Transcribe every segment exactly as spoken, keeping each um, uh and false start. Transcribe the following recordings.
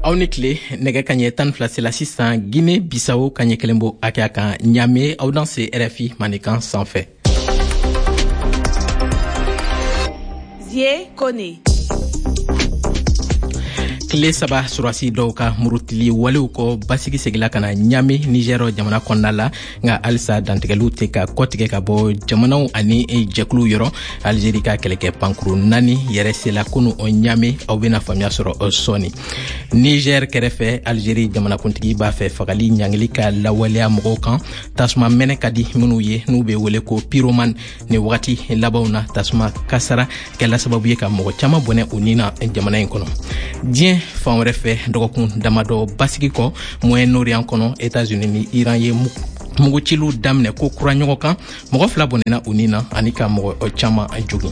Aw ni tile. Nɛgɛ kaɲɛ tan ni fila sela sisan Guinée Bissau, kaɲɛ kelen bo hakɛya kan Ɲame. Aw danse R F I Mandenkan sanfɛ. Zie Kone. Tile saba surasi dɔw ka murutili walew kɔ, basigi segila ka na Ɲame, Nigɛr jamana kɔnɔna la. Nka halisa dantigɛliw tɛ ka kɔtigɛ ka bɔ jamanaw ani jɛkuluw yɔrɔ. Alizeri ka kɛlɛkɛ pankuru naani yɛrɛ sela kunu Ɲame. Aw bena faamuya sɔrɔ sɔɔni. Niger kɛrɛfɛ, Alizeri jamanakuntigi b'a fɛ fagali ɲangili ka lawaleya mɔgɔw kan tasuma mɛnɛ ka di minw ye, n'u be wele ko pyromane. Ni wagati labanw na, tasuma kasara kɛla sababu ye ka mɔgɔ caaman bɔnɛ u ni na jamana in kɔnɔ. Diɲɛ fan wɛrɛ fɛ, dɔgɔkun damadɔ basigi kɔ Moyen Orient kɔnɔ, Etats-Unis ni Iran ye muguciliw daminɛ ko kura ɲɔgɔn kan. Mɔgɔ fila bɔnɛna u ni na ani ka mɔgɔ caaman jogin.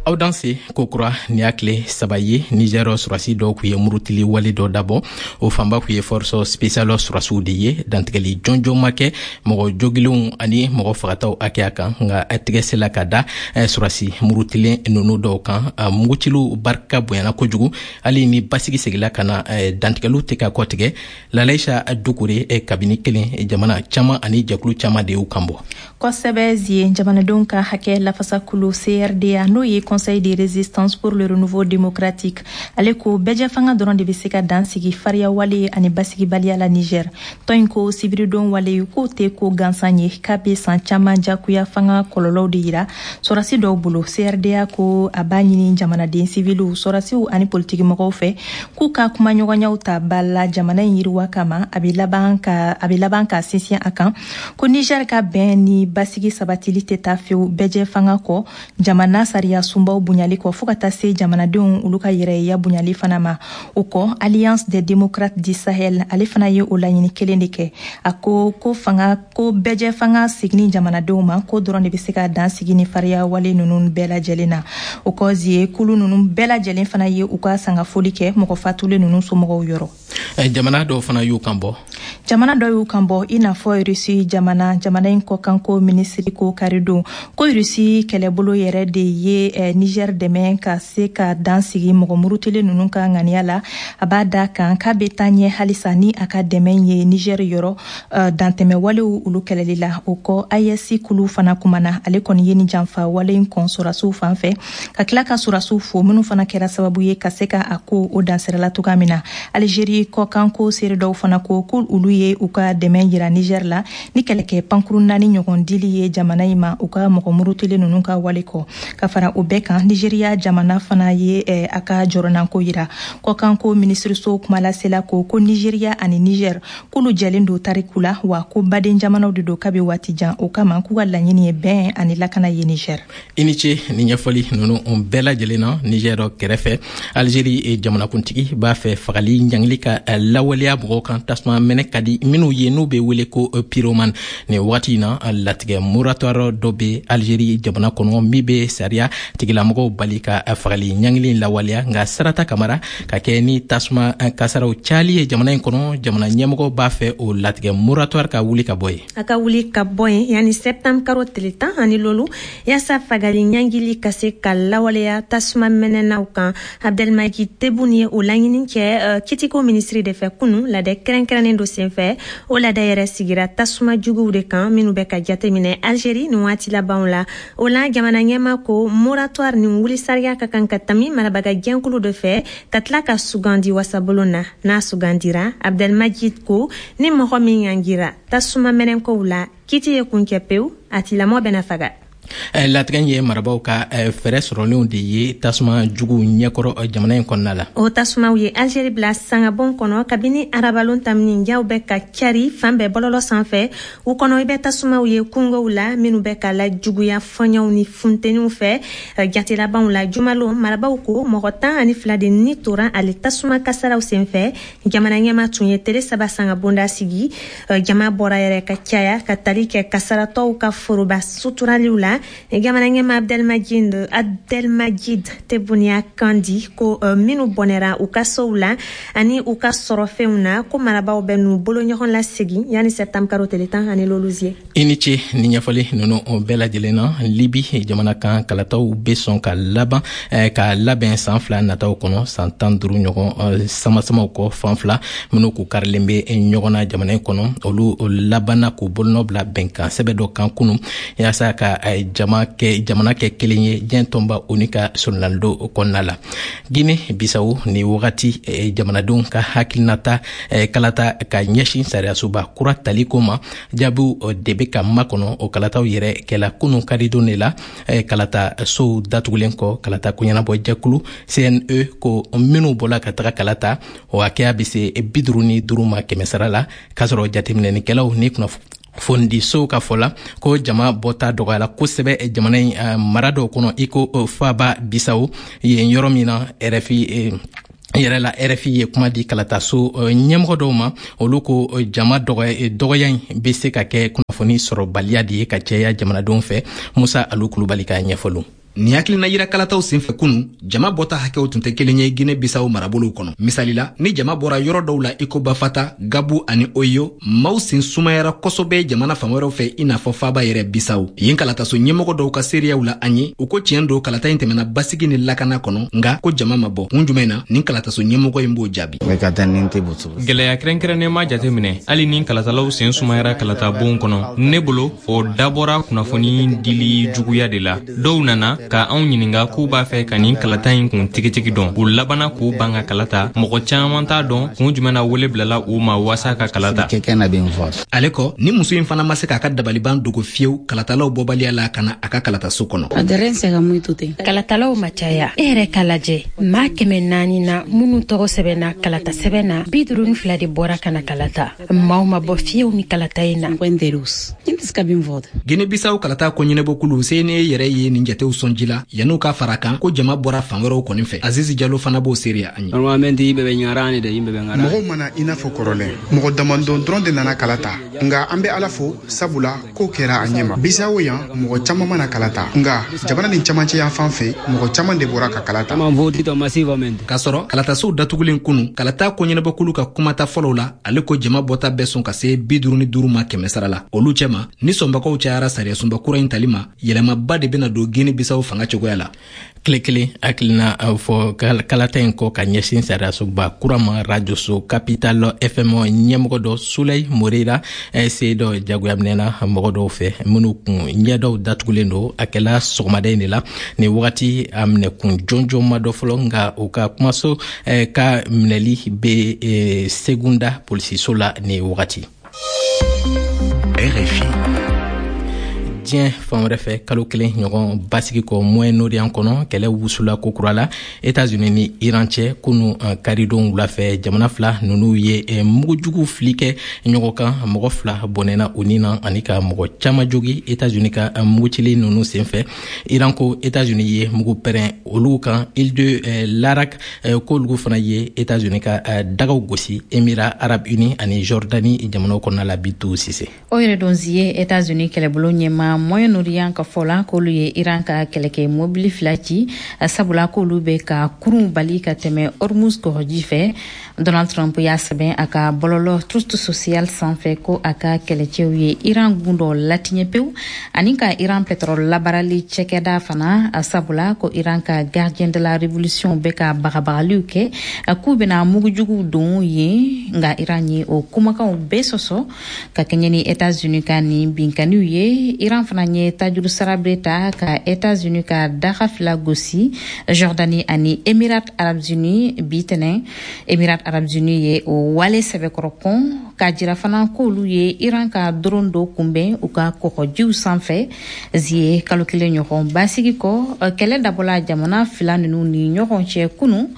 Aw danse kokura. Ni y'a tile saba ye, Niger surasi dɔw kun ye murutili wale dɔ dabɔ. O fanba kun ye force spéciale surasiw de ye. Dantigɛli jɔnjɔn ma kɛ mɔgɔ jogilenw ani mɔgɔ fagataw hakɛya kan, nka tigɛ sela ka da surasi murutilen nunu dɔw kan. Muguciliw barika bonyana kojugu. Hali ni basigi segila ka na, dantigɛliw tɛ ka kɔtigɛ. Lalaisa Dukure, kabini kelen, jamana caaman ani jɛkulu caaman de y'u kan bɔ. Kosɛbɛ Zie. Jamanadenw ka hakɛ lafasakulu C R D A, n'o ye Conseil de résistance pour le renouveau démocratique, ale ko bɛɛjɛ fanga dɔrɔn de bɛ se ka dan sigi fariya wale ani basigibaliya la Niger. Tɔn in ko sibiridon wale k'o tɛ ko gansan ye, k'a bɛ san caman jagoya fanga kɔlɔlɔw de yira sɔrɔsi dɔw bolo. C R D A ko a b'a ɲini jamanaden siviliw, sɔrɔsiw ani politikimɔgɔw fɛ k'u ka kumaɲɔgɔnyaw ta ba la jamana in yiriwa kama. A bɛ laban ka a bɛ laban ka sinsin a kan ko Niger ka bɛn ni basigi sabatili tɛ taa fewu bɛɛjɛ fanga kɔ, jamana sariya sunbaw bonyali kɔ, fɔɔ ka taa se jamanadenw olu ka yɛrɛya bonyali fana ma. O kɔ, Alliance des démocrates du Sahel, ale fana ye o laɲini kelen de kɛ. A ko ko fanga ko bɛɛjɛ fanga seginni jamanadenw ma, ko dɔrɔn de bɛ se ka dan sigi ni fariya wale ninnu bɛɛ lajɛlen na. O kɔ Zie, kulu ninnu bɛɛ lajɛlen fana ye u ka sangafoli kɛ mɔgɔ fatulen ninnu somɔgɔw yɔrɔ. Jamana dɔw fana y'u kan bɔ. Jamana dɔw y'u kan bɔ, i n'a fɔ Rusi jamana. Jamana in kɔkanko minisiri ko karidon ko Rusi kɛlɛbolo yɛrɛ de ye eh, Niger dɛmɛ ka se ka dan sigi mɔgɔ murutilen ninnu ka ŋaniya la. A b'a da kan k'a bɛ taa ɲɛ halisa ni a ka dɛmɛ ye Niger yɔrɔ uh, dantɛmɛ walew olu kɛlɛli la. O kɔ, A E S kulu fana kumana. Ale kɔni ye ni janfa wale in kɔn sɔrɔsiw fan fɛ, ka tila ka sɔrɔsiw fo minnu fana kɛra sababu ye ka se ka a ko o dansirala cogoya min na. Algérie kɔkanko seere dɔw fana ko ko olu ye u ka dɛmɛ yira Niger la ni kɛlɛkɛ pankuru naani ɲɔgɔn dili ye jamana in ma u ka mɔgɔ murutilen ninnu ka wale kɔ. Ka fara o bɛɛ kan, Nigeriya jamana fana ye eh, a ka jɔrɔnanko yira. Kɔkanko minisiriso kumalasela ko ko Nigeriya ani Niger k'olu jɛlen don tariku la, wa ko baden jamanaw de don kabi waati jan. O kama k'u ka laɲini ye bɛn ani lakana ye Niger. I ni ce ni ɲɛfɔli nunu bɛɛ lajɛlen na. Niger kɛrɛfɛ, Algérie jamanakuntigi b'a fɛ fagali ɲangili ka lawaleya mɔgɔw kan tasuma mɛnɛ ka di minw ye, n'u be wele ko pyromane. Nin wagati na, latigɛ moratoire dɔ be Algérie jamana kɔnɔ min be sariya tigilamɔgɔw bali ka fagali ɲangili lawaleya. Nka Sarata Kamara, ka kɛ ni tasuma kasaraw cayali ye jamana in kɔnɔ, jamana ɲɛmɔgɔ b'a fɛ o latigɛ moratoire ka wuli ka bɔ yen. A ka wuli ka bɔ yen yanni septembre karo tile tan ani lolu, yaasa fagali ɲangili ka se ka lawaleya tasuma mɛnɛnaw kan. Abdelmadjid Tebboune ye o laɲini kɛ uh, kitiko minisiri de fɛ kunu, ladɛ kɛrɛnkɛrɛnnen do senfɛ. O ladɛ yɛrɛ sigira tasuma juguw de kan minnu bɛ ka jateminɛ Algérie nin waati labanw la. O la, jamana ɲɛma ko moratoire nin wuli sariya ka kan ka tami marabaga jɛnkulu dɔ fɛ, ka tila ka sugandi wasabulon na. N'a sugandira, Abdelmadjid ko ni mɔgɔ min ɲangira tasuma mɛnɛkow la, kiti ye kuncɛ pewu, a tilamɔ bɛna faga. Latigɛ ye marabaw ka fɛɛrɛ sɔrɔlenw de ye tasuma jugu ɲɛkɔrɔ jamana in kɔnɔna la. O tasumaw ye Algérie bila sangabon kɔnɔ kabini arabalon tamini. Jaw bɛ ka cari fan bɛɛ bɔlɔlɔ sanfɛ. U kɔnɔ, i bɛ tasumaw ye kungow la minnu bɛ ka lajuguya fɔɲɔw ni funteniw fɛ. Jate labanw la jumalon, marabaw ko mɔgɔ tan ani fila de ni tora ale tasuma kasaraw senfɛ. Jamana ɲɛma tun ye tele saba sangabonda sigi. Jama bɔra yɛrɛ ka caya ka tali kɛ kasaratɔw ka foroba suturaliw la. la. Jamana ɲɛmaa Abdelmadjid Abdelmadjid Tebboune y'a kan di ko minnu bɔnɛra u ka sow la ani u ka sɔrɔfɛnw na, ko marabaaw bɛ n'u bolo ɲɔgɔn lasegin yanni septembre karo tile tan ani lolu ye. I ni ce ni ɲɛfɔli ninnu bɛɛ lajɛlen na. Libi jamana kan, kalataw bɛ sɔn ka laban ka labɛn san fila nataw kɔnɔ, san tan duuru ɲɔgɔn samasamaw kɔ. Fan fila minnu k'u karilen bɛ ɲɔgɔn na jamana in kɔnɔ, olu labanna k'u bolonɔ bila bɛnkan sɛbɛn dɔ kan kunu, yaasa ka jama kɛ jamana kɛ kelen ye diɲɛ tɔnba ONU ka solonalidon kɔnɔna la. Guinée Bissau, ni wagati jamanadenw ka hakilinata kalata ka ɲɛsin sariyasoba kura tali ko ma, jaabiw de bɛ ka makɔnɔ. O kalataw yɛrɛ kɛla kunu karidon de la, kalata sow datugulen kɔ. Kalata koɲɛnabɔ jɛkulu C N E ko minnu bɔla ka taga kalata, o hakɛya bɛ se bi duuru ni duuru ma kɛmɛ sara la, k'a sɔrɔ jateminɛnikɛlaw ni kunnafonidisow ka fɔ la ko jama bɔta dɔgɔyala kosɛbɛ jamana in mara dɔw kɔnɔ, i ko faaba Bisawo yen, yɔrɔ min na R F I yɛrɛ la. R F I ye kuma di kalataso ɲɛmɔgɔ dɔw ma, olu ko jama dɔgɔya in bɛ se ka kɛ kunnafoni sɔrɔbaliya de ye ka caya jamanadenw fɛ. Musa Alu Kulubali ka ɲɛfɔliw. Nin hakilina yira kalataw senfɛ kunu, jama bɔta hakɛw tun tɛ kelen ye Gine Bisawo marabolow kɔnɔ. Misali la, ni jama bɔra yɔrɔ dɔw la i ko Bafata, Gabu ani Oyo, maaw sen sumayara kosɛbɛ jamana fan wɛrɛw fɛ, i n'a fɔ faaba yɛrɛ Bisawo. Yen kalataso ɲɛmɔgɔ dɔw ka seereyaw la an ye, u ko tiɲɛ don, kalata in tɛmɛna basigi ni lakana kɔnɔ, nga ko jama ma bɔ. Kun jumɛn na? Nin kalataso ɲɛmɔgɔ in b'o jaabi. Gwɛlɛya kɛrɛnkɛrɛnnen ma jateminɛ, hali ni kalatalaw sen sumayara kalata bon kɔnɔ. Ne bolo, o dabɔra kunnafoni dili juguya de la. Dɔw nana ka anw ɲininga k'u b'a fɛ ka nin kalata in kun tigitigi dɔn. U labana k'u ban ka kalata. Mɔgɔ caaman t'a dɔn kun jumɛn na wele bilala u ma waasa ka kalata. Ale kɔ, ni muso in fana ma se k'a ka dabaliban dogo fiyewu kalatalaw bɔbaliya la ka na a ka kalataso kɔnɔ. Kalatalaw ma caya. E yɛrɛ ka lajɛ, maa kɛmɛ naani na minnu tɔgɔ sɛbɛnna kalata sɛbɛn na, bi duuru ni fila de bɔra ka na kalata. Maaw ma bɔ fiyewu ni kalata in na. Gine Bisaw kalata ko ɲɛnabɔkulu C N E yɛrɛ ye nin jatew sɔn ji la yan'u ka fara kan ko jama bɔra fan wɛrɛw kɔni fɛ. Azizi Jalo fana b'o seereya an ye. Mɔgɔw mana i n'a fɔ kɔrɔlen, mɔgɔ damadɔn dɔrɔn de nana kala ta, nka an bɛ Ala fo, sabula ko kɛra a ɲɛma. Bisawo yan, mɔgɔ caman mana kala ta, nka jamana nin camancɛ yan fan fɛ, mɔgɔ caman de bɔra ka kala ta. K'a sɔrɔ kalatasow datugulen kunu, kalata ko ɲɛnabɔkulu ka kumata fɔlɔw la, ale ko jama bɔta bɛɛ sɔn ka se bi duuru ni duuru ma kɛmɛ sara la. Olu cɛma, ni sɔnbagaw cayara sariyasunba kura in tali ma, yɛlɛmaba de bɛna don Gine Bisaw fanga cogoya la. Tile kelen hakilina fɔ kalata in kɔ ka ɲɛsin sariyasoba kura ma, rajoso Capital F M ɲɛmɔgɔ dɔ, Sulɛyi Morera, se dɔ jagoya minɛna mɔgɔ dɔw fɛ minnu kun ɲɛdɔw datugulen don. A kɛla sɔgɔmada in de la. Nin wagati, a minɛkun jɔnjɔn ma dɔ fɔlɔ, nka u ka kumaso ka minɛli bɛ Segunda polisiso la nin wagati. R F I. Diɲɛ fan wɛrɛ fɛ, kalo kelen ɲɔgɔn basigi kɔ Moyen-Orient kɔnɔ, kɛlɛ wusula kokura la Etats-Unis ni Iran cɛ. Kunu karidon wula fɛ, jamana fila ninnu ye mugujugu fili kɛ ɲɔgɔn kan. Mɔgɔ fila bɔnɛna u ni na ani ka mɔgɔ caman jogi Etats-Unis ka mugucili ninnu senfɛ. Iran ko Etats-Unis ye mugu pɛrɛn olu kan île de Larak, k'olu fana ye Etats-Unis ka dagaw gosi Émirats arabes unis ani Jordanie jamanaw kɔnɔna la. Bitu Sise. O yɛrɛ don ye, Etats-Unis kɛlɛbolo ɲɛma Moyen-Orient ka fɔ la k'olu ye Iran ka kɛlɛkɛ mobili fila ci, sabula k'olu bɛ ka kurun bali ka tɛmɛ Hormuz kɔgɔji fɛ. Donald Trump y'a sɛbɛn a ka bɔlɔlɔ Truth Social sanfɛ ko a ka kɛlɛcɛw ye Iran gun dɔ latiɲɛ pewu ani ka Iran pétrole labaarali cɛkɛda fana, sabula ko Iran ka Gardien de la Révolution bɛ ka bagabagaliw kɛ k'u bɛna mugujuguw don yen. Nka Iran ye o kumakanw bɛɛ sɔsɔ. Ka kɛɲɛ ni Etats-Unis ka nin binkaniw ye, Iran fana ye tajuru sara bere ta ka Etats-Unis ka daga fila gosi, Jordanie ani Émirats arabes unis, bi tɛnɛ. Émirats arabes unis ye o wale sɛbɛkɔrɔ kɔn, k'a jira fana k'olu ye Iran ka drone dɔ kunbɛn u ka kɔgɔjiw sanfɛ. Zie, kalo kelen ɲɔgɔn basigi kɔ, kɛlɛ dabɔla jamana fila ninnu ni ɲɔgɔn cɛ kunu.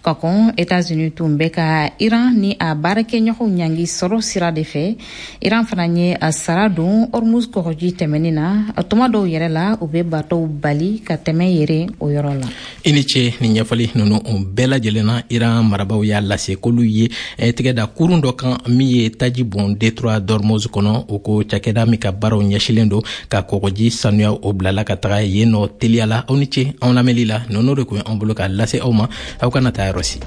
Ka kɔn, Etats-Unis tun bɛ ka Iran ni a baarakɛɲɔgɔnw ɲangi sɔrɔ sira de fɛ. Iran fana ye a sara don Hormuz kɔgɔji tɛmɛni na. Tuma dɔw yɛrɛ la, u bɛ bateauw bali ka tɛmɛ yɛrɛ o yɔrɔ la. I ni ce ni ɲɛfɔli ninnu bɛɛ lajɛlen na. Iran marabaw y'a lase k'olu ye tigɛ da kurun dɔ kan min ye taji bɔn détroit d'Ormuz kɔnɔ. O ko cakɛda min ka baaraw ɲɛsilen don ka kɔgɔji sanuya, o bilala ka taga yen nɔ teliya la. Aw ni ce anw lamɛnli la. Ninnu de kun ye anw bolo k'a lase aw ma. Aw kana taa yɔrɔ si.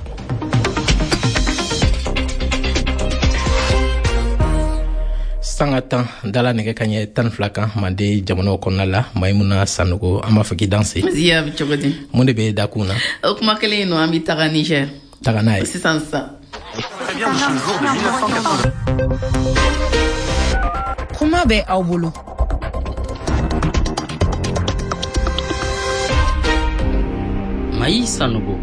Sanga tan dala nɛgɛ ka ɲɛ tan fila kan Mande jamanaw kɔnɔna la. Maimuna Sanogo, an b'a fɔ k'i danse. Ziya, bɛ cogo di? Mun de bɛ dakun na? O kuma kelen in nɔ, an bɛ taga Niger. Taga n'a ye sisan sisan. Kuma bɛ aw bolo. Mayi Sanogo.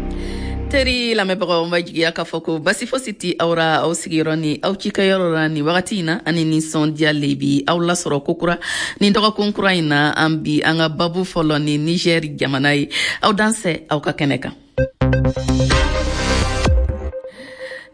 Teri lamɛnbagaw, n b'a jigiya k'a fɔ ko basi fosi ti aw ra aw sigiyɔrɔ ni aw cikɛyɔrɔ la nin wagati in na. Ani nisɔndiya le bi aw lasɔrɔ kokura nin dɔgɔkun kura in na. An bi an ka babu fɔlɔ ni Niger jamana ye. Aw dansɛ aw ka kɛnɛ kan.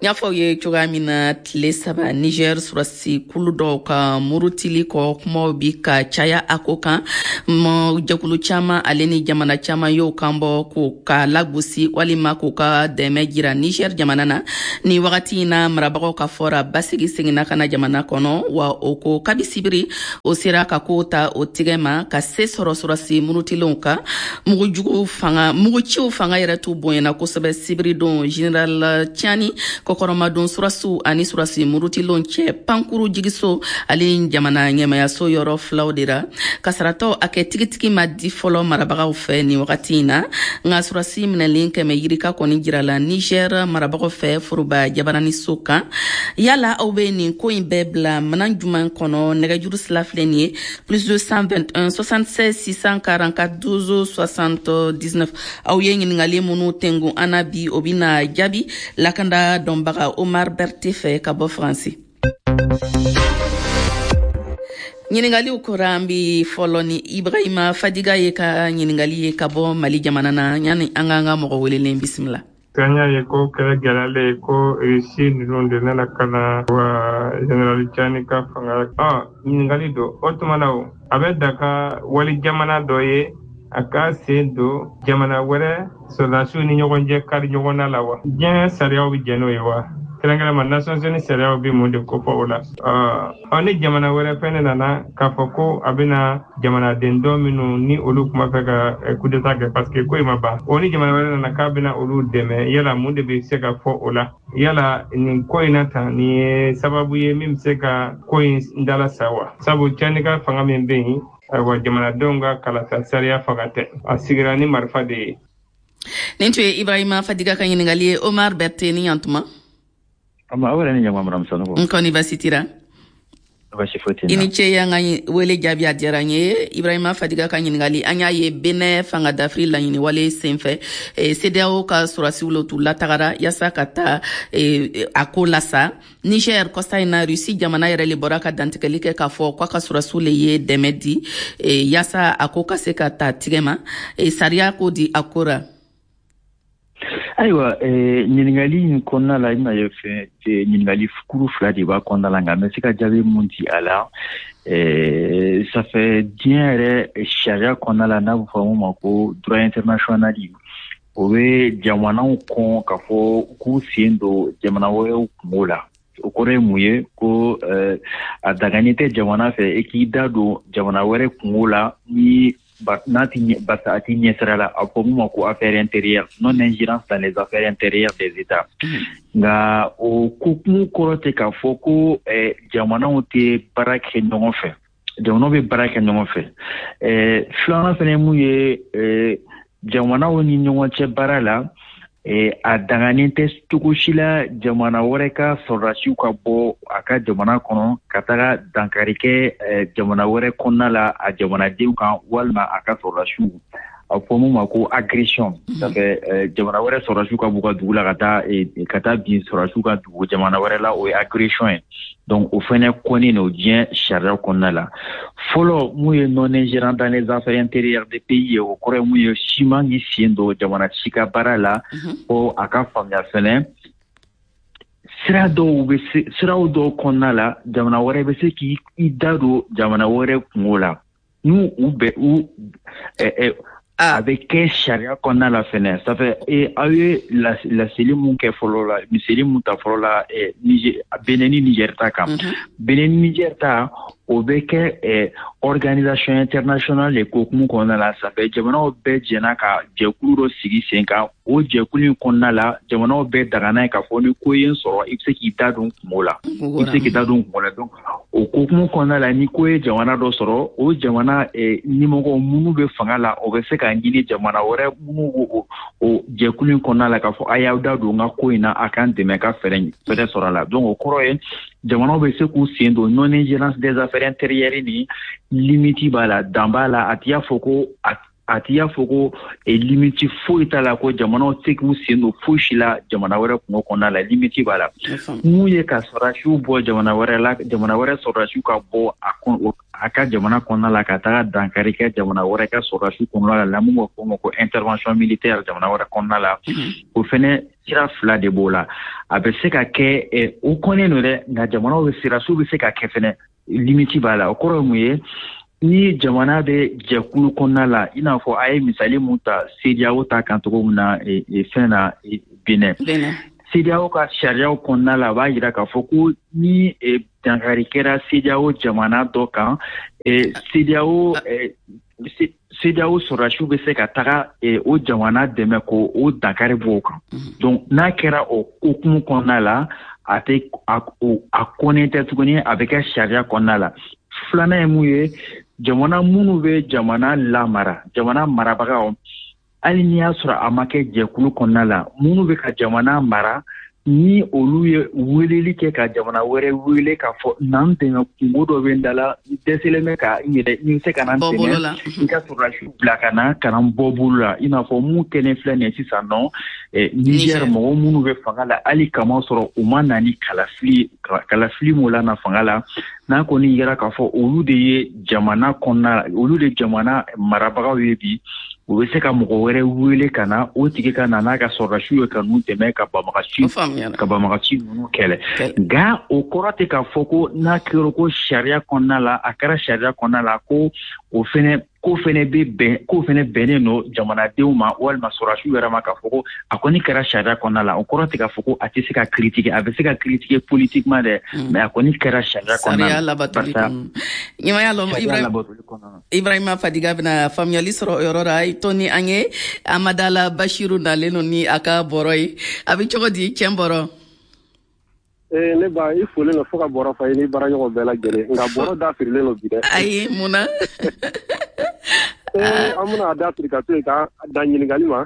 N y'a fɔ aw ye cogoya min na, tile saba Niger surasi kulu dɔw ka murutili kɔ, kumaw bi ka caya a ko kan. Jɛkulu caman ale ni jamana caman y'o kan bɔ k'o ka lagosi walima k'o ka dɛmɛ jira Niger jamana na. Ni wagati in na, marabagaw ka fɔra basigi seginna ka na jamana kɔnɔ, wa o ko kabi sibiri o sera ka kow ta o tigɛ ma ka se sɔrɔ surasi murutilenw kan. Mugujugu fanga, muguciw fanga yɛrɛ t'u bonyana kosɛbɛ sibiri don. Général Tiani kɔkɔrɔmadon surasiw ani surasi murutilenw cɛ pankuru jigiso ale jamana ɲɛmayaso yɔrɔ filaw de ra. Kasaratɔ a kɛ tigitigi ma di fɔlɔ marabagaw fɛ nin wagati in na, nka surasi minɛlen kɛmɛ yirika kɔni jirala Niger marabagaw fɛ foroba jabaraniso kan. Yala aw bɛ nin ko in bɛɛ bila minan jumɛn kɔnɔ? Nɛgɛjuru sira filɛ nin ye: plus deux cent vingt un soixante seize six cent quarante quatre douze soixante dix neuf. Aw ye ɲininkali minnu tengun an na bi, o bɛna jaabi lakanda dɔnbaga Omar Berthe fɛ ka bɔ Faransi. Ɲininkaliw kɔrɔ, an bi fɔlɔ ni Ibrahima Fadiga ye ka ɲininkali ye ka bɔ Mali jamana na. Yani an k'an ka mɔgɔ welelen bisimila. An y'a ye ko kɛlɛ gɛlɛyalen ko Russie ninnu de nana ka na wa Général Tiani ka fanga. Ɔ ɲininkali don o tuma na, o a bɛ daga wali jamana dɔ ye a ka sen don jamana wɛrɛ sɔrɔdasiw ni ɲɔgɔn cɛ kari ɲɔgɔn na la wa? Diɲɛ sariyaw bɛ jɛn n'o ye wa? Kɛrɛnkɛrɛnma Nations Unies sariyaw bɛ mun de kofɔ o la? Ɔ ni jamana wɛrɛ fɛnɛ nana k'a fɔ ko a bɛna jamanaden dɔ minnu ni olu kuma fɛ ka coup d'état kɛ, parce que ko in ma ban, o ni jamana wɛrɛ nana k'a bɛna olu dɛmɛ, yala mun de bɛ se ka fɔ o la? Yala nin ko in na tan, nin ye sababu ye min bɛ se ka ko in dala sa wa? Sabu Tiani ka fanga min bɛ yen, ayiwa, jamanadenw ka kalata sariya fanga tɛ, a sigira ni marifa de ye. Nin tun ye Ibrahima Fadiga ka ɲininkali ye. Omar Berthe, ni yantuma. Ama aw yɛrɛ ni ɲama, Madame Sanogo. N kɔni basi tira. Basi foyi tɛ n I na. ni ce y'an ka wele jaabi, a diyara n ye. Ibrahima Fadiga ka ɲininkali, an y'a ye Benin fanga dafiri laɲini wale senfɛ, CEDEAO ka surasiw lo t'u latagara yaasa ka taa a ko lasa. Niger kɔsa in na, Russie jamana yɛrɛ le bɔra ka dantigɛli kɛ k'a fɔ k'a ka surasiw le ye dɛmɛ di yaasa a ko ka se ka ta tigɛ ma. Sariya ko di a ko ra? Ayiwa, ɲininkali in kɔnɔna la, i bɛna ye fɛn ɲininkali kuru fila de b'a kɔnɔna la, nka n bɛ se ka jaabi mun di a la, ça fait diɲɛ yɛrɛ sariya kɔnɔna la, n'a bɛ fɔ mun ma ko droit international, o bɛ jamanaw kɔn k'a fɔ k'u sen don jamana wɛrɛw kungo la. O kɔrɔ ye mun ye? Ko a dagani tɛ jamana fɛ i k'i da don jamana wɛrɛ kungo la ni n'a ti barisa a ti ɲɛsira la. A fɔ mun ma ko affaire intérieure, non ingérence dans les affaires intérieures des États. Nka o ko kun kɔrɔ tɛ k'a fɔ ko jamanaw tɛ baara kɛ ɲɔgɔn fɛ. Jamanaw bɛ baara kɛ ɲɔgɔn fɛ. Filanan fɛnɛ ye mun ye? Jamanaw ni ɲɔgɔn cɛ baara la, a danganen tɛ cogo si la jamana wɛrɛ ka sɔrɔdasiw ka bɔ a ka jamana kɔnɔ ka taga dankari kɛ jamana wɛrɛ kɔnɔna la a jamanadenw kan walima a ka sɔrɔdasiw. A fɔ mun ma ko agression. Ça fait jamana wɛrɛ sɔrɔdasiw ka b'u ka dugu la ka taa ka taa bin sɔrɔdasiw ka dugu jamana wɛrɛ la, o ye agression ye. Donc o fɛnɛ kɔnnen don diɲɛ sariya kɔnɔna la. Fɔlɔ, mun ye non ingérence dans les affaires intérieures des pays ye, o kɔrɔ ye mun ye? Si man k'i sen don jamana si ka baara la. Fo a ka faamuya fɛnɛ, sira dɔw bɛ se, siraw dɔw kɔnɔna la, jamana wɛrɛ bɛ se k'i da don jamana wɛrɛ kungo la n'u u bɛ u A bɛ kɛ sariya kɔnɔna la fɛnɛ. Ça fait aw ye laseli mun kɛ fɔlɔ la, miseli mun ta fɔlɔ la, Benin ni Niger ta kan, Benin ni Niger ta, o bɛ kɛ organisation internationale de kokumu kɔnɔna la. Ça fait jamanaw bɛɛ jɛnna ka jɛkulu dɔ sigi sen kan. O jɛkulu in kɔnɔna la, jamanaw bɛɛ dagana ye k'a fɔ ni ko ye n sɔrɔ, i bɛ se k'i da don kungo la, i bɛ se k'i da don kungo la. Donc o kokumu kɔnɔna la, ni ko ye jamana dɔ sɔrɔ, o jamana ɲɛmɔgɔ minnu bɛ fanga la, o bɛ se k'a ɲini jamana wɛrɛ minnu b'o o jɛkulu in kɔnɔna la k'a fɔ a y'aw da don n ka ko in na, a k'an dɛmɛ ka fɛɛrɛ fɛɛrɛ sɔrɔ a la. Donc o kɔrɔ ye jamanaw bɛ se k'u sen don. Non ingérence des affaires intérieures ni limite b'a la, dan b'a la. A t'i y'a fɔ ko a a t'i y'a fɔ ko limite foyi t'a la, ko jamanaw tɛ k'u sen don foyi si la jamana wɛrɛ kungo kɔnɔna la. Limite b'a la. Mun ye ka sɔrɔdasiw bɔ jamana wɛrɛ la, jamana wɛrɛ sɔrɔdasiw ka bɔ a a ka jamana kɔnɔna la ka taga dankari kɛ jamana wɛrɛ ka sɔrɔdasiw kɔnɔna la, mun b'a fɔ o ma ko intervention militaire jamana wɛrɛ kɔnɔna la, o fɛnɛ sira fila de b'o la. A bɛ se ka kɛ, o kɔnnen don dɛ, nka jamanaw bɛ sirasiw bɛ se ka kɛ fɛnɛ, limite b'a la. O kɔrɔ ye mun ye? Ni jamana bɛ jɛkulu kɔnɔna la, i n'a fɔ a ye misali mun ta CEDEAO ta kan cogo min na, fɛn na Benin, CEDEAO ka sariyaw kɔnɔna la, a b'a jira k'a fɔ ko ni dankari kɛra CEDEAO jamana dɔ kan, CEDEAO CEDEAO sɔrɔdasiw bɛ se ka taga o jamana dɛmɛ ko o dankari bɔ o kan. Donc n'a kɛra o hukumu kɔnɔna la, a tɛ a kɔnnen tɛ tuguni, a bɛ kɛ sariya kɔnɔna la. Filanan ye mun ye? Jamana minnu bɛ jamana lamara, jamana marabagaw, hali n'i y'a sɔrɔ a ma kɛ jɛkulu kɔnɔna la, minnu bɛ ka jamana mara, ni olu ye weleli kɛ ka jamana wɛrɛ wele k'a fɔ n'an dɛmɛ, kungo dɔ bɛ n da la, n dɛsɛlen bɛ ka n yɛrɛ, n bɛ se ka na n dɛmɛ, i ka sɔrɔdasiw bila ka na ka na n bɔ bolo la, i n'a fɔ mun kɛlen filɛ nin ye sisan nɔ Niger, mɔgɔ minnu bɛ fanga la, hali kama sɔrɔ u ma na ni kalafili kalafili m'o la na fanga la, n'a kɔni yera k'a fɔ olu de ye jamana kɔnɔna, olu de jamana marabagaw ye bi, u bɛ se ka mɔgɔ wɛrɛ wele ka na, o tigi ka na n'a ka sɔrɔdasiw ye ka n'u dɛmɛ ka banbagaci ka banbagaci ninnu kɛlɛ. Nka o kɔrɔ tɛ k'a fɔ ko n'a kɛra ko sariya kɔnɔna la, a kɛra sariya kɔnɔna la ko o fɛnɛ ko fɛnɛ bɛ bɛn, ko fɛnɛ bɛnnen don jamanadenw ma walima sɔrɔdasiw yɛrɛ ma k'a fɔ ko a kɔni kɛra sariya kɔnɔna la. O kɔrɔ tɛ k'a fɔ ko a tɛ se ka critiquer, a bɛ se ka critiquer politiquement dɛ, mais a kɔni kɛra sariya kɔnɔna la. Sariya labatoli kɔnɔ. Ɲɛmaya lɔn Ibrahima Fadiga bɛna faamuyali sɔrɔ o yɔrɔ la. I to ni an ye Amadala Bashiru nalen don ni a ka bɔrɔ ye. A bɛ cogo di cɛn bɔrɔ? Ee ne ba, i folen don fo ka bɔrɔ fa i ni baaraɲɔgɔn bɛɛ lajɛlen, nka bɔrɔ da firilen don bi dɛ. Ayi, mun na? Ee an bɛna a da firi ka to yen ka dan ɲininkali ma.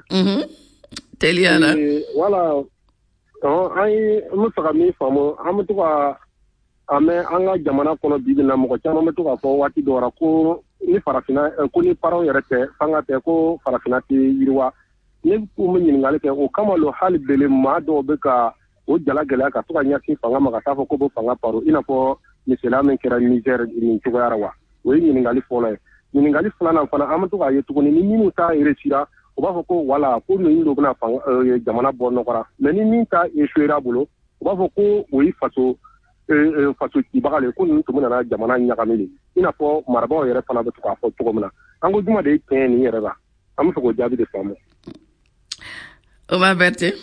Teliya la. Wala an ye n bɛ fɛ ka min faamu, an bɛ to ka a mɛn an ka jamana kɔnɔ bi bi in na, mɔgɔ caman bɛ to k'a fɔ waati dɔw la ko ni farafinna, ko ni parents yɛrɛ tɛ, fanga tɛ, ko farafinna tɛ yiriwa. Ne ko n bɛ ɲininkali kɛ o kama lo, hali bele maa dɔw bɛ ka o jala gɛlɛya ka to ka ɲɛsin fanga ma ka taa fɔ ko bɛ fanga paro, i n'a fɔ misaliya min kɛra Niger nin cogoya la wa? O ye ɲininkali fɔlɔ ye. Ɲininkali filanan fana, an bɛ to k'a ye tuguni ni minnu ta réussira, u b'a fɔ ko wala ko ninnu de bɛna fanga jamana bɔ nɔgɔ la, mais ni min ta échouera bolo, u b'a fɔ ko o ye faso faso cibaga le, ko ninnu tun bɛna jamana ɲagami de, i n'a fɔ marabaaw yɛrɛ fana bɛ to k'a fɔ cogo min na. An ko juma de ye tiɲɛ nin yɛrɛ la, an bɛ fɛ k'o jaabi de faamu. Omar Berthe.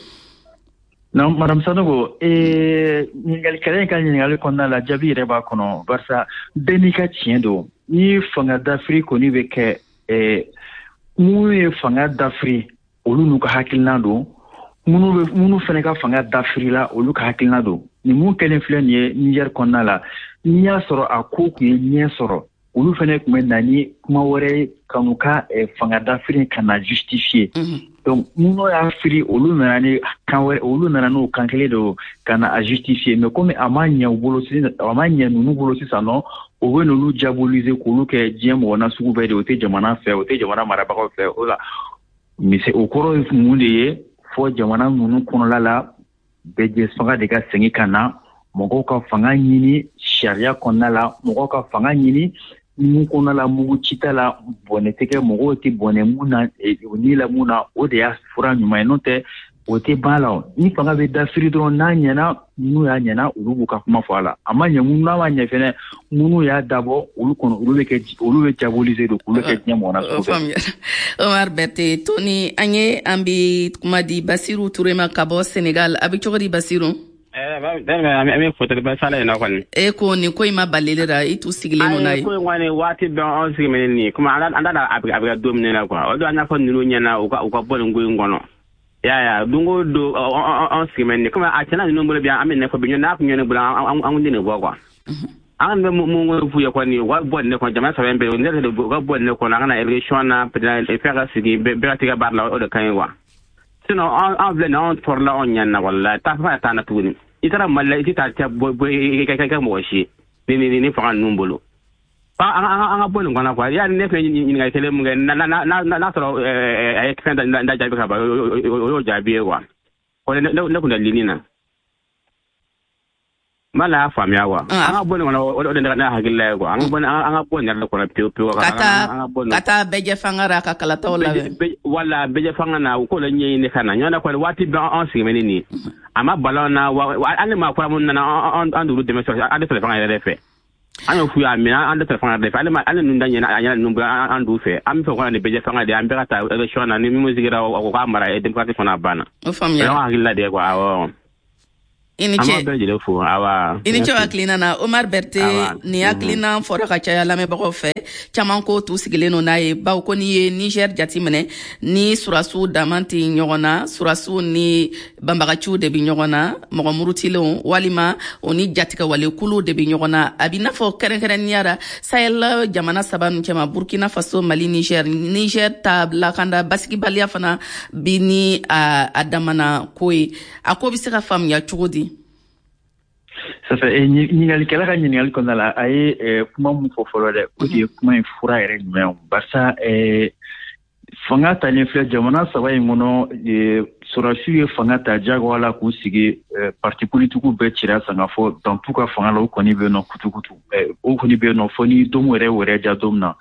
Non, Madame Sanogo, eh, ɲininkalikɛla in ka ɲininkali kɔnɔna la, jaabi yɛrɛ b'a kɔnɔ, barisa bɛɛ n'i ka tiɲɛ don. Ni fanga dafiri kɔni bɛ kɛ, eh, minnu ye fanga dafiri, olu n'u ka hakilina don, minnu bɛ minnu fana ka fanga dafiri la, olu ka hakilina don. Nin mun kɛlen filɛ nin ye Niger kɔnɔna la, n'i y'a sɔrɔ a ko tun ye ɲɛ sɔrɔ, olu fana tun bɛ na ni kuma wɛrɛ ye ka n'u ka fanga dafiri ka na justifier. Donc minnu y'a firi, olu nana ni kan wɛrɛ, olu nana n'o kan kelen don ka na a justifier. Mais komi a ma ɲɛ u bolo, a ma ɲɛ ninnu bolo sisan nɔ, o bɛ n'olu diaboliser k'olu kɛ diɲɛ mɔgɔ na sugu bɛɛ de, o tɛ jamana fɛ, o tɛ jamana marabagaw fɛ. O la mise o kɔrɔ ye mun de ye? Fɔ jamana ninnu kɔnɔla la, bɛɛ fanga de ka segin ka na, mɔgɔw ka fanga ɲini sariya kɔnɔna la, mɔgɔw ka fanga ɲini mun kɔnɔna la, mugu cita la, bɔnɛ tɛ kɛ, mɔgɔw tɛ bɔnɛ mun na, ni la mun na, o de y'a fura ɲuman ye. N'o tɛ O tɛ ban la. Ni fanga bɛ dafiri dɔrɔn, n'a ɲɛna, minnu y'a ɲɛna, olu b'u ka kuma fɔ a la. A ma ɲɛ, n'a ma ɲɛ fɛnɛ, minnu y'a dabɔ, olu kɔnɔ, olu bɛ kɛ, olu bɛ diaboliser de, k'olu kɛ diɲɛ mɔgɔ na sugu bɛɛ. Omar Berthe, Tony, an ye an bi kuma di Basiru Ture ma ka bɔ Senegal. A bɛ cogo di, Basiru? An bɛ foteli ba sala in na kɔni. E ko nin ko in ma balili la, i t'u sigilen don n'a ye. Ko in kɔni, waati bɛɛ anw sigilen bɛ nin ye, komi an t'a a bɛ kɛ don min na quoi. O don an y'a fɔ ninnu ɲɛna, u ka u ka bɔ nin ko in kɔnɔ. Ya ya, don o don anw sigilen bɛ nin ye, komi a tiɲɛna ninnu bolo bi, an bɛ nin fɔ bi, n'a tun ye ne bolo, an kun tɛ nin bɔ quoi. An bɛ mun f'u ye kɔni, u ka bɔ nin kɔnɔ, jamana saba in bɛɛ, ne yɛrɛ, u ka bɔ nin kɔnɔ, an ka na élection na, président fɛn ka sigi, bɛɛ ka t'i ka baara la, o de ka ɲi quoi. Sinon an filɛ nin, anw tɔɔrɔla, anw ɲani na, walahi, taa fɛn t'an na tuguni. I taara Mali la, i tɛ taa cɛ bɔ i ka kɛ mɔgɔ si ni ni ni fanga ninnu bolo. An an ka bɔ nin kɔnɔ quoi. Yani ne fɛnɛ ɲininkali kelen mun kɛ, n'a sɔrɔ a ye fɛn da jaabi ka ban, o y'o jaabi ye quoi. Ne ne kun tɛ lini na. N b'a la y'a faamuya quoi. An ka bɔ nin kɔnɔ, o de ne hakilila ye quoi. An ka bɔ an ka bɔ nin yɛrɛ kɔnɔ pewu pewu. Ka taa ka taa bɛɛjɛ fanga ra, ka kalataw labɛn. Wala bɛɛjɛ fanga na, u k'o la ɲɛɲini ka na. Ɲɔgɔn kɔni, waati bɛɛ an sigilen bɛ ni nin ye. A ma bala na wa, hali maa kura minnu nana, an an d'olu dɛmɛ sɔrɔ, an tɛ sɔrɔ fanga yɛrɛ fɛ. An y'o f'u ye, a minɛ, an tɛ sɔrɔ fanga yɛrɛ fɛ. Hali hali ninnu da ɲɛna, a ɲɛna ninnu bolo, an d'u fɛ. An bɛ fɛ u ka na ni bɛɛjɛ fanga de ye, an bɛɛ ka taa élection na, ni min sigira, o k'a mara démocratie fana banna. O faamuya. O y'an hakilila de ye quoi, awɔ. I ni ce. An b'a bɛɛ lajɛlen fo, awa. I ni ce hakilina na, Omar Berthe. Nin hakilina fɔra ka caya lamɛnbagaw fɛ. Caman ko t'u sigilen don n'a ye, bawo ko n'i ye Niger jateminɛ, ni surasiw dama tɛ ɲɔgɔn na, surasiw ni banbagaciw de bɛ ɲɔgɔn na, mɔgɔ murutilenw walima o ni jatigɛwalekuluw de bɛ ɲɔgɔn na. A b'i n'a fɔ kɛrɛnkɛrɛnnenya la, Sahel jamana saba ninnu cɛma, Burkina Faso, Mali, Niger, Niger ta lakanda basigibaliya fana bi ni a, a damana ko ye. A ko bɛ se ka faamuya cogo di? Ça fait ɲininkalikɛla ka ɲininkali kɔnɔna la, a ye kuma mun fɔ fɔlɔ dɛ, o de ye kuma in fura yɛrɛ jumɛn ye? Barisa fanga talen filɛ jamana saba in kɔnɔ, sɔrɔdasiw ye fanga ta jagoya la k'u sigi, parti politikiw bɛɛ cira san ka fɔ dan t'u ka fanga la, o kɔni bɛ yen nɔ kutukutu, o kɔni bɛ yen nɔ fo ni don yɛrɛ wɛrɛ ja don min na.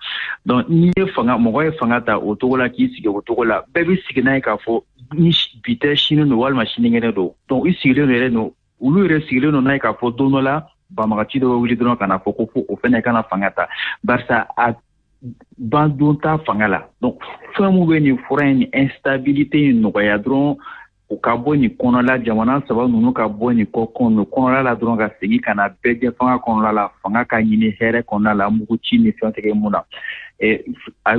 Donc n'i ye fanga, mɔgɔ ye fanga ta o cogo la k'i sigi o cogo la, bɛɛ bɛ sigi n'a ye k'a fɔ ni bi tɛ, sini don walima sinikɛnɛ don. Donc i sigilen don yɛrɛ don, olu yɛrɛ sigilen don n'a ye k'a fɔ don dɔ la banbagaci dɔ bɛ wuli dɔrɔn ka na fɔ ko fo o fɛnɛ kana fanga ta, barisa a ban don t'a fanga la. Donc fɛn mun bɛ nin fura in, ni instabilité in nɔgɔya dɔrɔn, u ka bɔ nin kɔnɔla, jamana saba ninnu ka bɔ nin kɔ kɔnɔla la dɔrɔn, ka segin ka na bɛɛ jɛ fanga kɔnɔla la, fanga ka ɲini hɛrɛ kɔnɔna la, mugu ci ni fɛn tigɛ mun na. A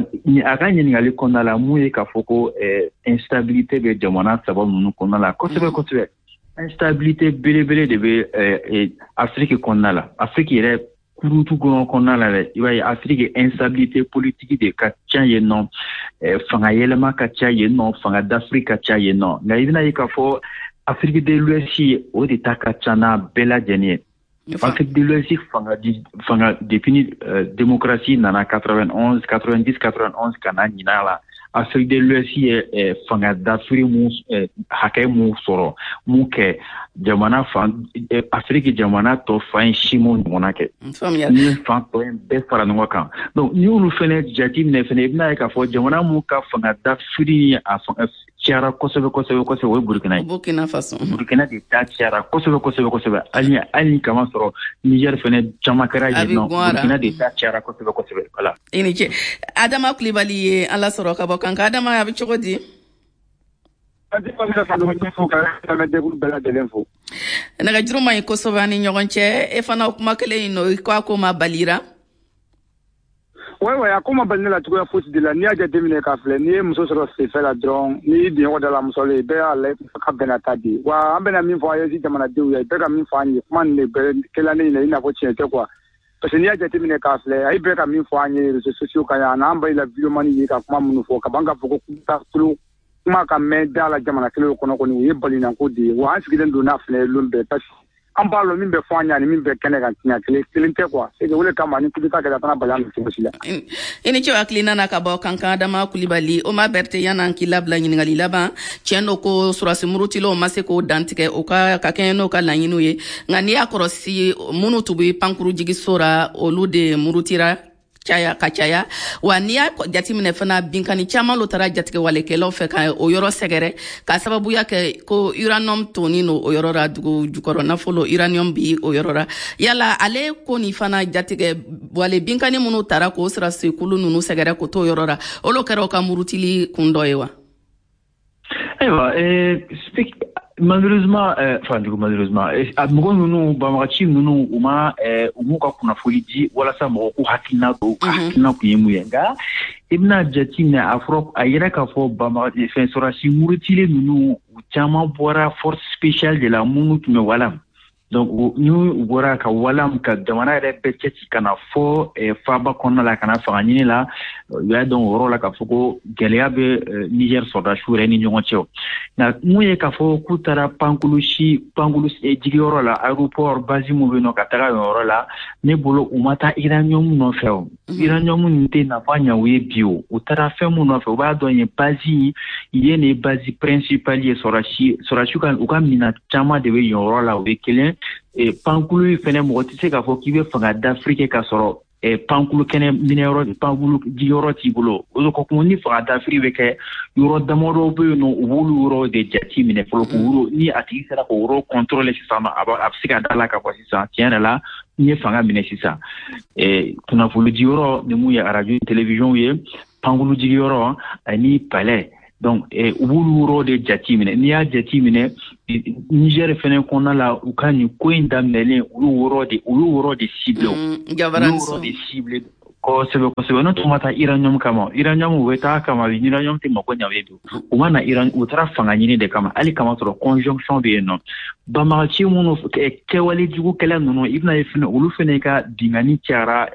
ka ɲininkali kɔnɔna la, mun ye k'a fɔ ko instabilité bɛ jamana saba ninnu kɔnɔna la kosɛbɛ kosɛbɛ. Instabilité belebele de bɛ Afiriki kɔnɔna la, Afiriki yɛrɛ kurutu kɔnɔ kɔnɔna la dɛ. I b'a ye Afiriki instabilité politique de ka ca yen nɔ, fanga yɛlɛma ka ca yen nɔ, fanga dafiri ka ca yen nɔ. Nka i bɛna ye k'a fɔ Afrique de l'Ouest, o de ta ka ca n'a bɛɛ lajɛlen ye. Afrique de l'Ouest fanga fanga depuis ni démocratie nana quatre-vingt-onze, quatre-vingt-dix, quatre-vingt-onze ka na ɲinan la, Afrique de l'Ouest ye fanga dafiri mun hakɛ mun sɔrɔ, mun kɛ jamana fan, Afrique jamana tɔ fan si m'o ɲɔgɔnna kɛ. Ni ye fan tɔ in bɛɛ fara ɲɔgɔn kan, donc n'i y'olu fɛnɛ jateminɛ fɛnɛ, i bɛna ye k'a fɔ jamana mun ka fanga dafiri a cayara kosɛbɛ kosɛbɛ kosɛbɛ, o ye Burukina ye. Burkina Faso. Burukina de ta cayara kosɛbɛ kosɛbɛ kosɛbɛ. Hali hali kama sɔrɔ Niger fɛnɛ caman kɛra yen nɔ, Burukina de ta cayara kosɛbɛ kosɛbɛ. Voilà. I ni ce. Adama Kulibali ye an lasɔrɔ ka bɔ Kankan. Adama, a bɛ cogo di? Nɛgɛjuru man ɲi kosɛbɛ an ni ɲɔgɔn cɛ. E fana, o kuma kelen in nɔ, i ko a ko ma balira. Ouais, ouais, a ko ma bali ne la cogoya fosi de la. N'i y'a jateminɛ k'a filɛ, n'i ye muso sɔrɔ senfɛ la dɔrɔn, n'i y'i biɲɔgɔn da la muso la, bɛɛ y'a lajɛ ka bɛnna ta di wa. An bɛna min fɔ A E S jamanadenw ye, bɛɛ ka min fɔ an ye, kuma nin de bɛɛ kɛla ne ɲɛna i n'a fɔ tiɲɛ tɛ quoi, parce que n'i y'a jateminɛ k'a filɛ, a ye bɛɛ ka min fɔ an ye réseaux sociaux kan yan, n'an b'a la vidéoman ye ka kuma minnu fɔ ka ban k'a fɔ ko kulo kuma ka mɛn da la jamana kelen kɔnɔ kɔni, o ye balinako de ye wa. An sigilen don n'a filɛ lon bɛɛ, parce que an b'a lɔn min bɛ fɔ an ye ani min bɛ kɛnɛ kan, tiɲɛ kelen kelen tɛ quoi. C'est que o de kama ni coup d'état kɛra, a tɛna bali an na cogo si la. I ni ce hakilina na ka bɔ Kankan, Adama Kulibali. Omar Berthe, yan'an k'i labila, ɲininkali laban. Tiɲɛ don ko surasi murutilenw ma se k'o dantigɛ o ka ka kɛɲɛ n'o ka laɲiniw ye, nka n'i y'a kɔrɔsi, minnu tun bɛ pankuru jigiso ra, olu de murutira. caya ka caya. Wa n'i y'a jateminɛ fana, binkani caman lo taara jatigɛwalekɛlaw fɛ ka o yɔrɔ sɛgɛrɛ, ka sababuya kɛ ko uranium tonni no o yɔrɔ la, dugu jukɔrɔ nafolo uranium bi o yɔrɔ la. Yala ale ko nin fana, jatigɛ wale binkani minnu taara k'o sɔrɔdasikulu ninnu sɛgɛrɛ k'o t'o yɔrɔ la, olu kɛra o ka murutili kun dɔ ye wa? Ayiwa, malheureusement, enfin du coup malheureusement, mɔgɔ ninnu, banbagaci ninnu, u ma u m'u ka kunnafoni di walasa mɔgɔ k'u hakilina don, u ka hakilina kun ye mun ye. Nka i bɛna jateminɛ, a fɔra a yɛrɛ k'a fɔ banbaga fɛn sɔrɔdasi murutilen ninnu, u caman bɔra force spéciale de la minnu tun bɛ Walam. Donc ni u bɔra ka Walam ka jamana yɛrɛ bɛɛ cɛci ka na fɔ faaba kɔnɔna la ka na fanga ɲini la, u y'a dɔn o yɔrɔ la k'a fɔ ko gɛlɛya bɛ Niger sɔrɔdasiw yɛrɛ ni ɲɔgɔn cɛ. Nka mun ye k'a fɔ k'u taara pankulu si pankulu jigiyɔrɔ la, aéroport base mun bɛ yen nɔ, ka taga yen yɔrɔ la, ne bolo u ma taa uranium nɔfɛ. O uranium nin tɛ nafa ɲɛ u ye bi. O u taara fɛn mun nɔfɛ, u b'a dɔn yen base yen de ye base principale ye. Sɔrɔdasi sɔrɔdasiw ka u ka minɛn caman de bɛ yen yɔrɔ la. O ye kelen. Pankulu fɛnɛ, mɔgɔ tɛ se k'a fɔ k'i bɛ fanga dafiri kɛ k'a sɔrɔ pankulu kɛnɛ minɛyɔrɔ, pankulu jigiyɔrɔ t'i bolo. O de kɔ, ni fanga dafiri bɛ kɛ, yɔrɔ damadɔ bɛ yen nɔ, u b'olu yɔrɔ de jate minɛ fɔlɔ k'o ni a tigi sera k'o yɔrɔ contrôler sisan nɔ, a bɛ se ka da la k'a fɔ sisan tiɲɛ yɛrɛ la n ye fanga minɛ sisan. Kunnafoni jiyɔrɔ ni mun ye arajo, télévision ye, pankulu jigiyɔrɔ ani palais, donc u b'olu yɔrɔ de jate minɛ. N'i y'a jate minɛ, Niger fɛnɛ kɔnɔna la, u ka nin ko in daminɛlen, olu yɔrɔ de olu yɔrɔ de ciblé, olu yɔrɔ de ciblé kosɛbɛ kosɛbɛ. N'o tun ma taa uranium kama, uranium u bɛ taa kama, uranium tɛ mako ɲɛ u ye bi. U ma na Iran, u taara fanga ɲini de kama. Hali kama sɔrɔ conjonction bɛ yen nɔ, banbagaci minnu kɛwale jugukɛla ninnu, i bɛna ye fɛnɛ olu fɛnɛ ka binkanni cayara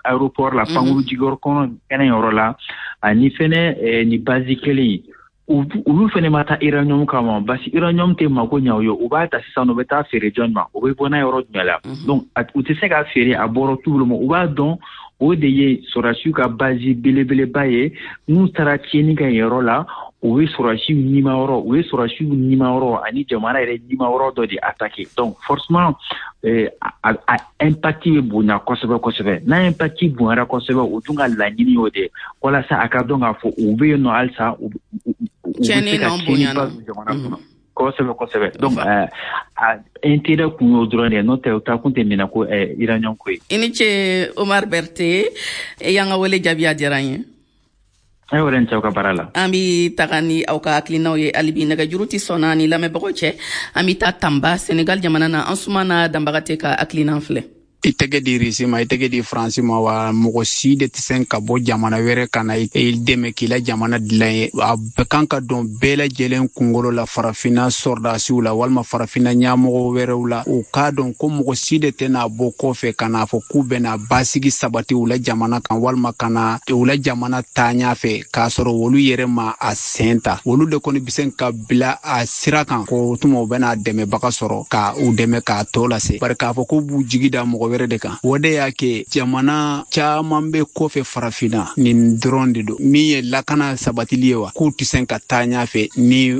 aéroport la, pankuru jigiyɔrɔ kɔnɔ kɛnɛ yɔrɔ la, ani fɛnɛ ni base kelen ye. Olu fɛnɛ ma taa uranium kama, basi uranium tɛ mako ɲɛ u ye. U b'a ta sisan, u bɛ taa feere jɔn ma? U bɛ bɔ n'a yɔrɔ jumɛn la? Donc u tɛ se k'a feere, a bɔrɔ t'u bolo ma. U b'a dɔn o de ye sɔrɔdasiw ka base belebeleba ye. N'u taara tiɲɛni kɛ yen yɔrɔ la, o ye sɔrɔdasiw nimayɔrɔ, o ye sɔrɔdasiw nimayɔrɔ ani jamana yɛrɛ nimayɔrɔ dɔ de attaqué. Donc forcément a impact bɛ bonya kosɛbɛ kosɛbɛ. N'a impact bonyara kosɛbɛ, o dun ka laɲini y'o de ye, walasa a ka dɔn k'a fɔ u bɛ yen nɔ halisa, u bɛ se ka tiɲɛniba don jamana kɔnɔ kosɛbɛ kosɛbɛ. Donc a intérêt kun y'o dɔrɔn de ye, n'o tɛ o taa kun tɛ minɛ ko uranium ko ye. I ni ce Omar Berthe, i y'an ka wele jaabi, a diyara n ye. Ayiwa, n cɛw ka baara la. An bi taga ni aw ka hakilinaw ye hali bi, nɛgɛjuru tɛ sɔnna ni lamɛnbagaw cɛ. An bi taa Tanba, Senegal jamana na. An sumana Danbagate ka hakilina filɛ. I tɛgɛ di Risi ma, i tɛgɛ di Faransi ma wa, mɔgɔ si de tɛ se ka bɔ jamana wɛrɛ ka na i dɛmɛ k'i la jamana dilan ye. A bɛɛ kan ka dɔn bɛɛ lajɛlen kunkolo la, farafinna sɔrɔdasiw la walima farafinna ɲɛmɔgɔ wɛrɛw la, u k'a dɔn ko mɔgɔ si de tɛna bɔ kɔfɛ ka n'a fɔ k'u bɛna basigi sabati u la jamana kan walima ka na u la jamana taa ɲɛfɛ k'a sɔrɔ olu yɛrɛ ma a sen ta. Olu de kɔni bɛ se ka bila a sira kan ko tuma u bɛna dɛmɛbaga sɔrɔ ka u dɛmɛ k'a tɔ lase, bari k'a fɔ k'u b'u jigi da mɔgɔ wɛrɛ de kan, o de y'a kɛ jamana caman bɛ kɔfɛ farafinna. Nin dɔrɔn de don min ye lakana sabatili ye wa, k'u tɛ se ka taa ɲɛfɛ ni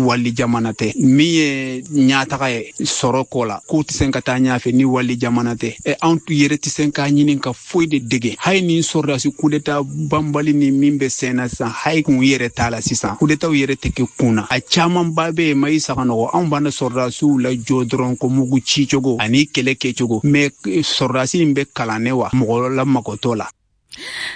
wali jamana tɛ. Min ye ɲɛtaga ye sɔrɔ ko la, k'u tɛ se ka taa ɲɛfɛ ni wali jamana tɛ. Ɛ anw yɛrɛ tɛ se k'a ɲini ka foyi de dege hali ni sɔrɔdasi kudeta banbali ni min bɛ sen na sisan, hali kun yɛrɛ t'a la sisan, kudetaw yɛrɛ tɛ kɛ kun na. A camanba bɛ yen, ma i saga nɔgɔ, anw b'an sɔrɔdasiw lajɔ dɔrɔn ko mugu ci cogo ani kɛlɛ kɛcogo, mɛ sɔrɔdasi in bɛ kalan wa mɔgɔ la magotɔ la.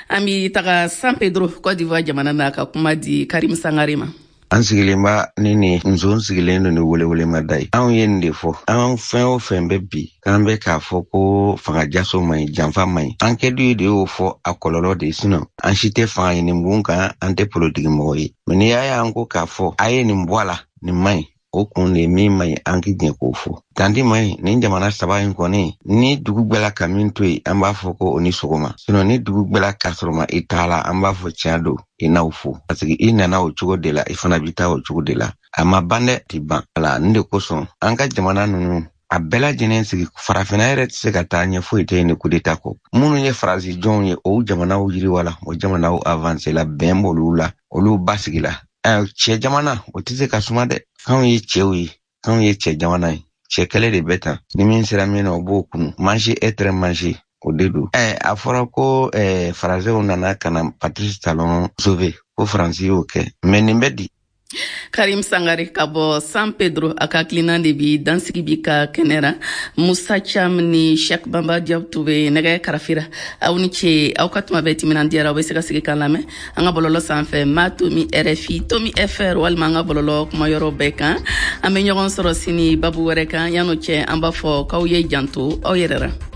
An bi taga San Pedro, Cote d'Ivoire jamana na, ka kuma di Karim Sangare ma. An sigilen ba ni nin nson sigilen don ni welewele ye. Anw ye nin de fɔ, an fɛn o fɛn bɛ bi k'an bɛ k'a fɔ ko fanga jaso man ɲi, janfa man ɲi, an kɛdu de y'o fɔ, a kɔlɔlɔ de ye. An si tɛ fanga ɲini bon kan, an tɛ politiki mɔgɔ ye, mɛ n'i y'a y'an ko k'a fɔ a ye nin bɔ a la, nin man ɲi, o kun de min man ɲi, an k'i jɛ k'o fɔ tanti man ɲi. Nin jamana saba in kɔni, ni dugu gbɛla ka min to yen, an b'a fɔ ko o ni sɔgɔma. Ni dugu gbɛla ka sɔrɔ ma i t'a la, an b'a fɔ tiɲɛ don, i n'aw fo, parce que i nana o cogo de la, i fana bi taa o cogo de la. A ma ban dɛ, ti ban ala. Nin de kosɔn an ka jamana ninnu a bɛɛ lajɛlen sigi, farafinna yɛrɛ tɛ se ka taa ɲɛ, foyi tɛ yen ni kudeta kɔ. Minnu ye Faransi jɔnw ye, o jamanaw yiriwa la, o jamanaw avancé la, bɛn b'olu la, olu basigi la. Cɛ jamana o tɛ se ka suma dɛ. K'anw ye cɛw ye, k'anw ye cɛ jamana ye, cɛ kɛlɛ de bɛ tan. Ni min sera min na, o b'o kunu. Manger, être mangé, O de don. Ɛ, a fɔra ko ɛ, Faransɛw nana ka na Patrice Talon sauver, ko Faransi y'o kɛ, mais nin bɛ di. Karim Sangare ka bɔ San Pedro, a ka hakilina de bi dansigi bi ka kɛnɛ ra. Musa Cham ni Sheikh Bamba Diop tun bɛ nɛgɛ karafira. Aw ni ce, aw ka tuma bɛɛ timinandiyara. Aw bɛ se ka sigi k'an lamɛn an ka bɔlɔlɔ sanfɛ, ma tomi R F I tomi F R, walima an ka bɔlɔlɔ kumayɔrɔ bɛɛ kan. An bɛ ɲɔgɔn sɔrɔ sini babu wɛrɛ kan. Yan'o cɛ, an b'a fɔ k'aw ye janto aw yɛrɛ ra.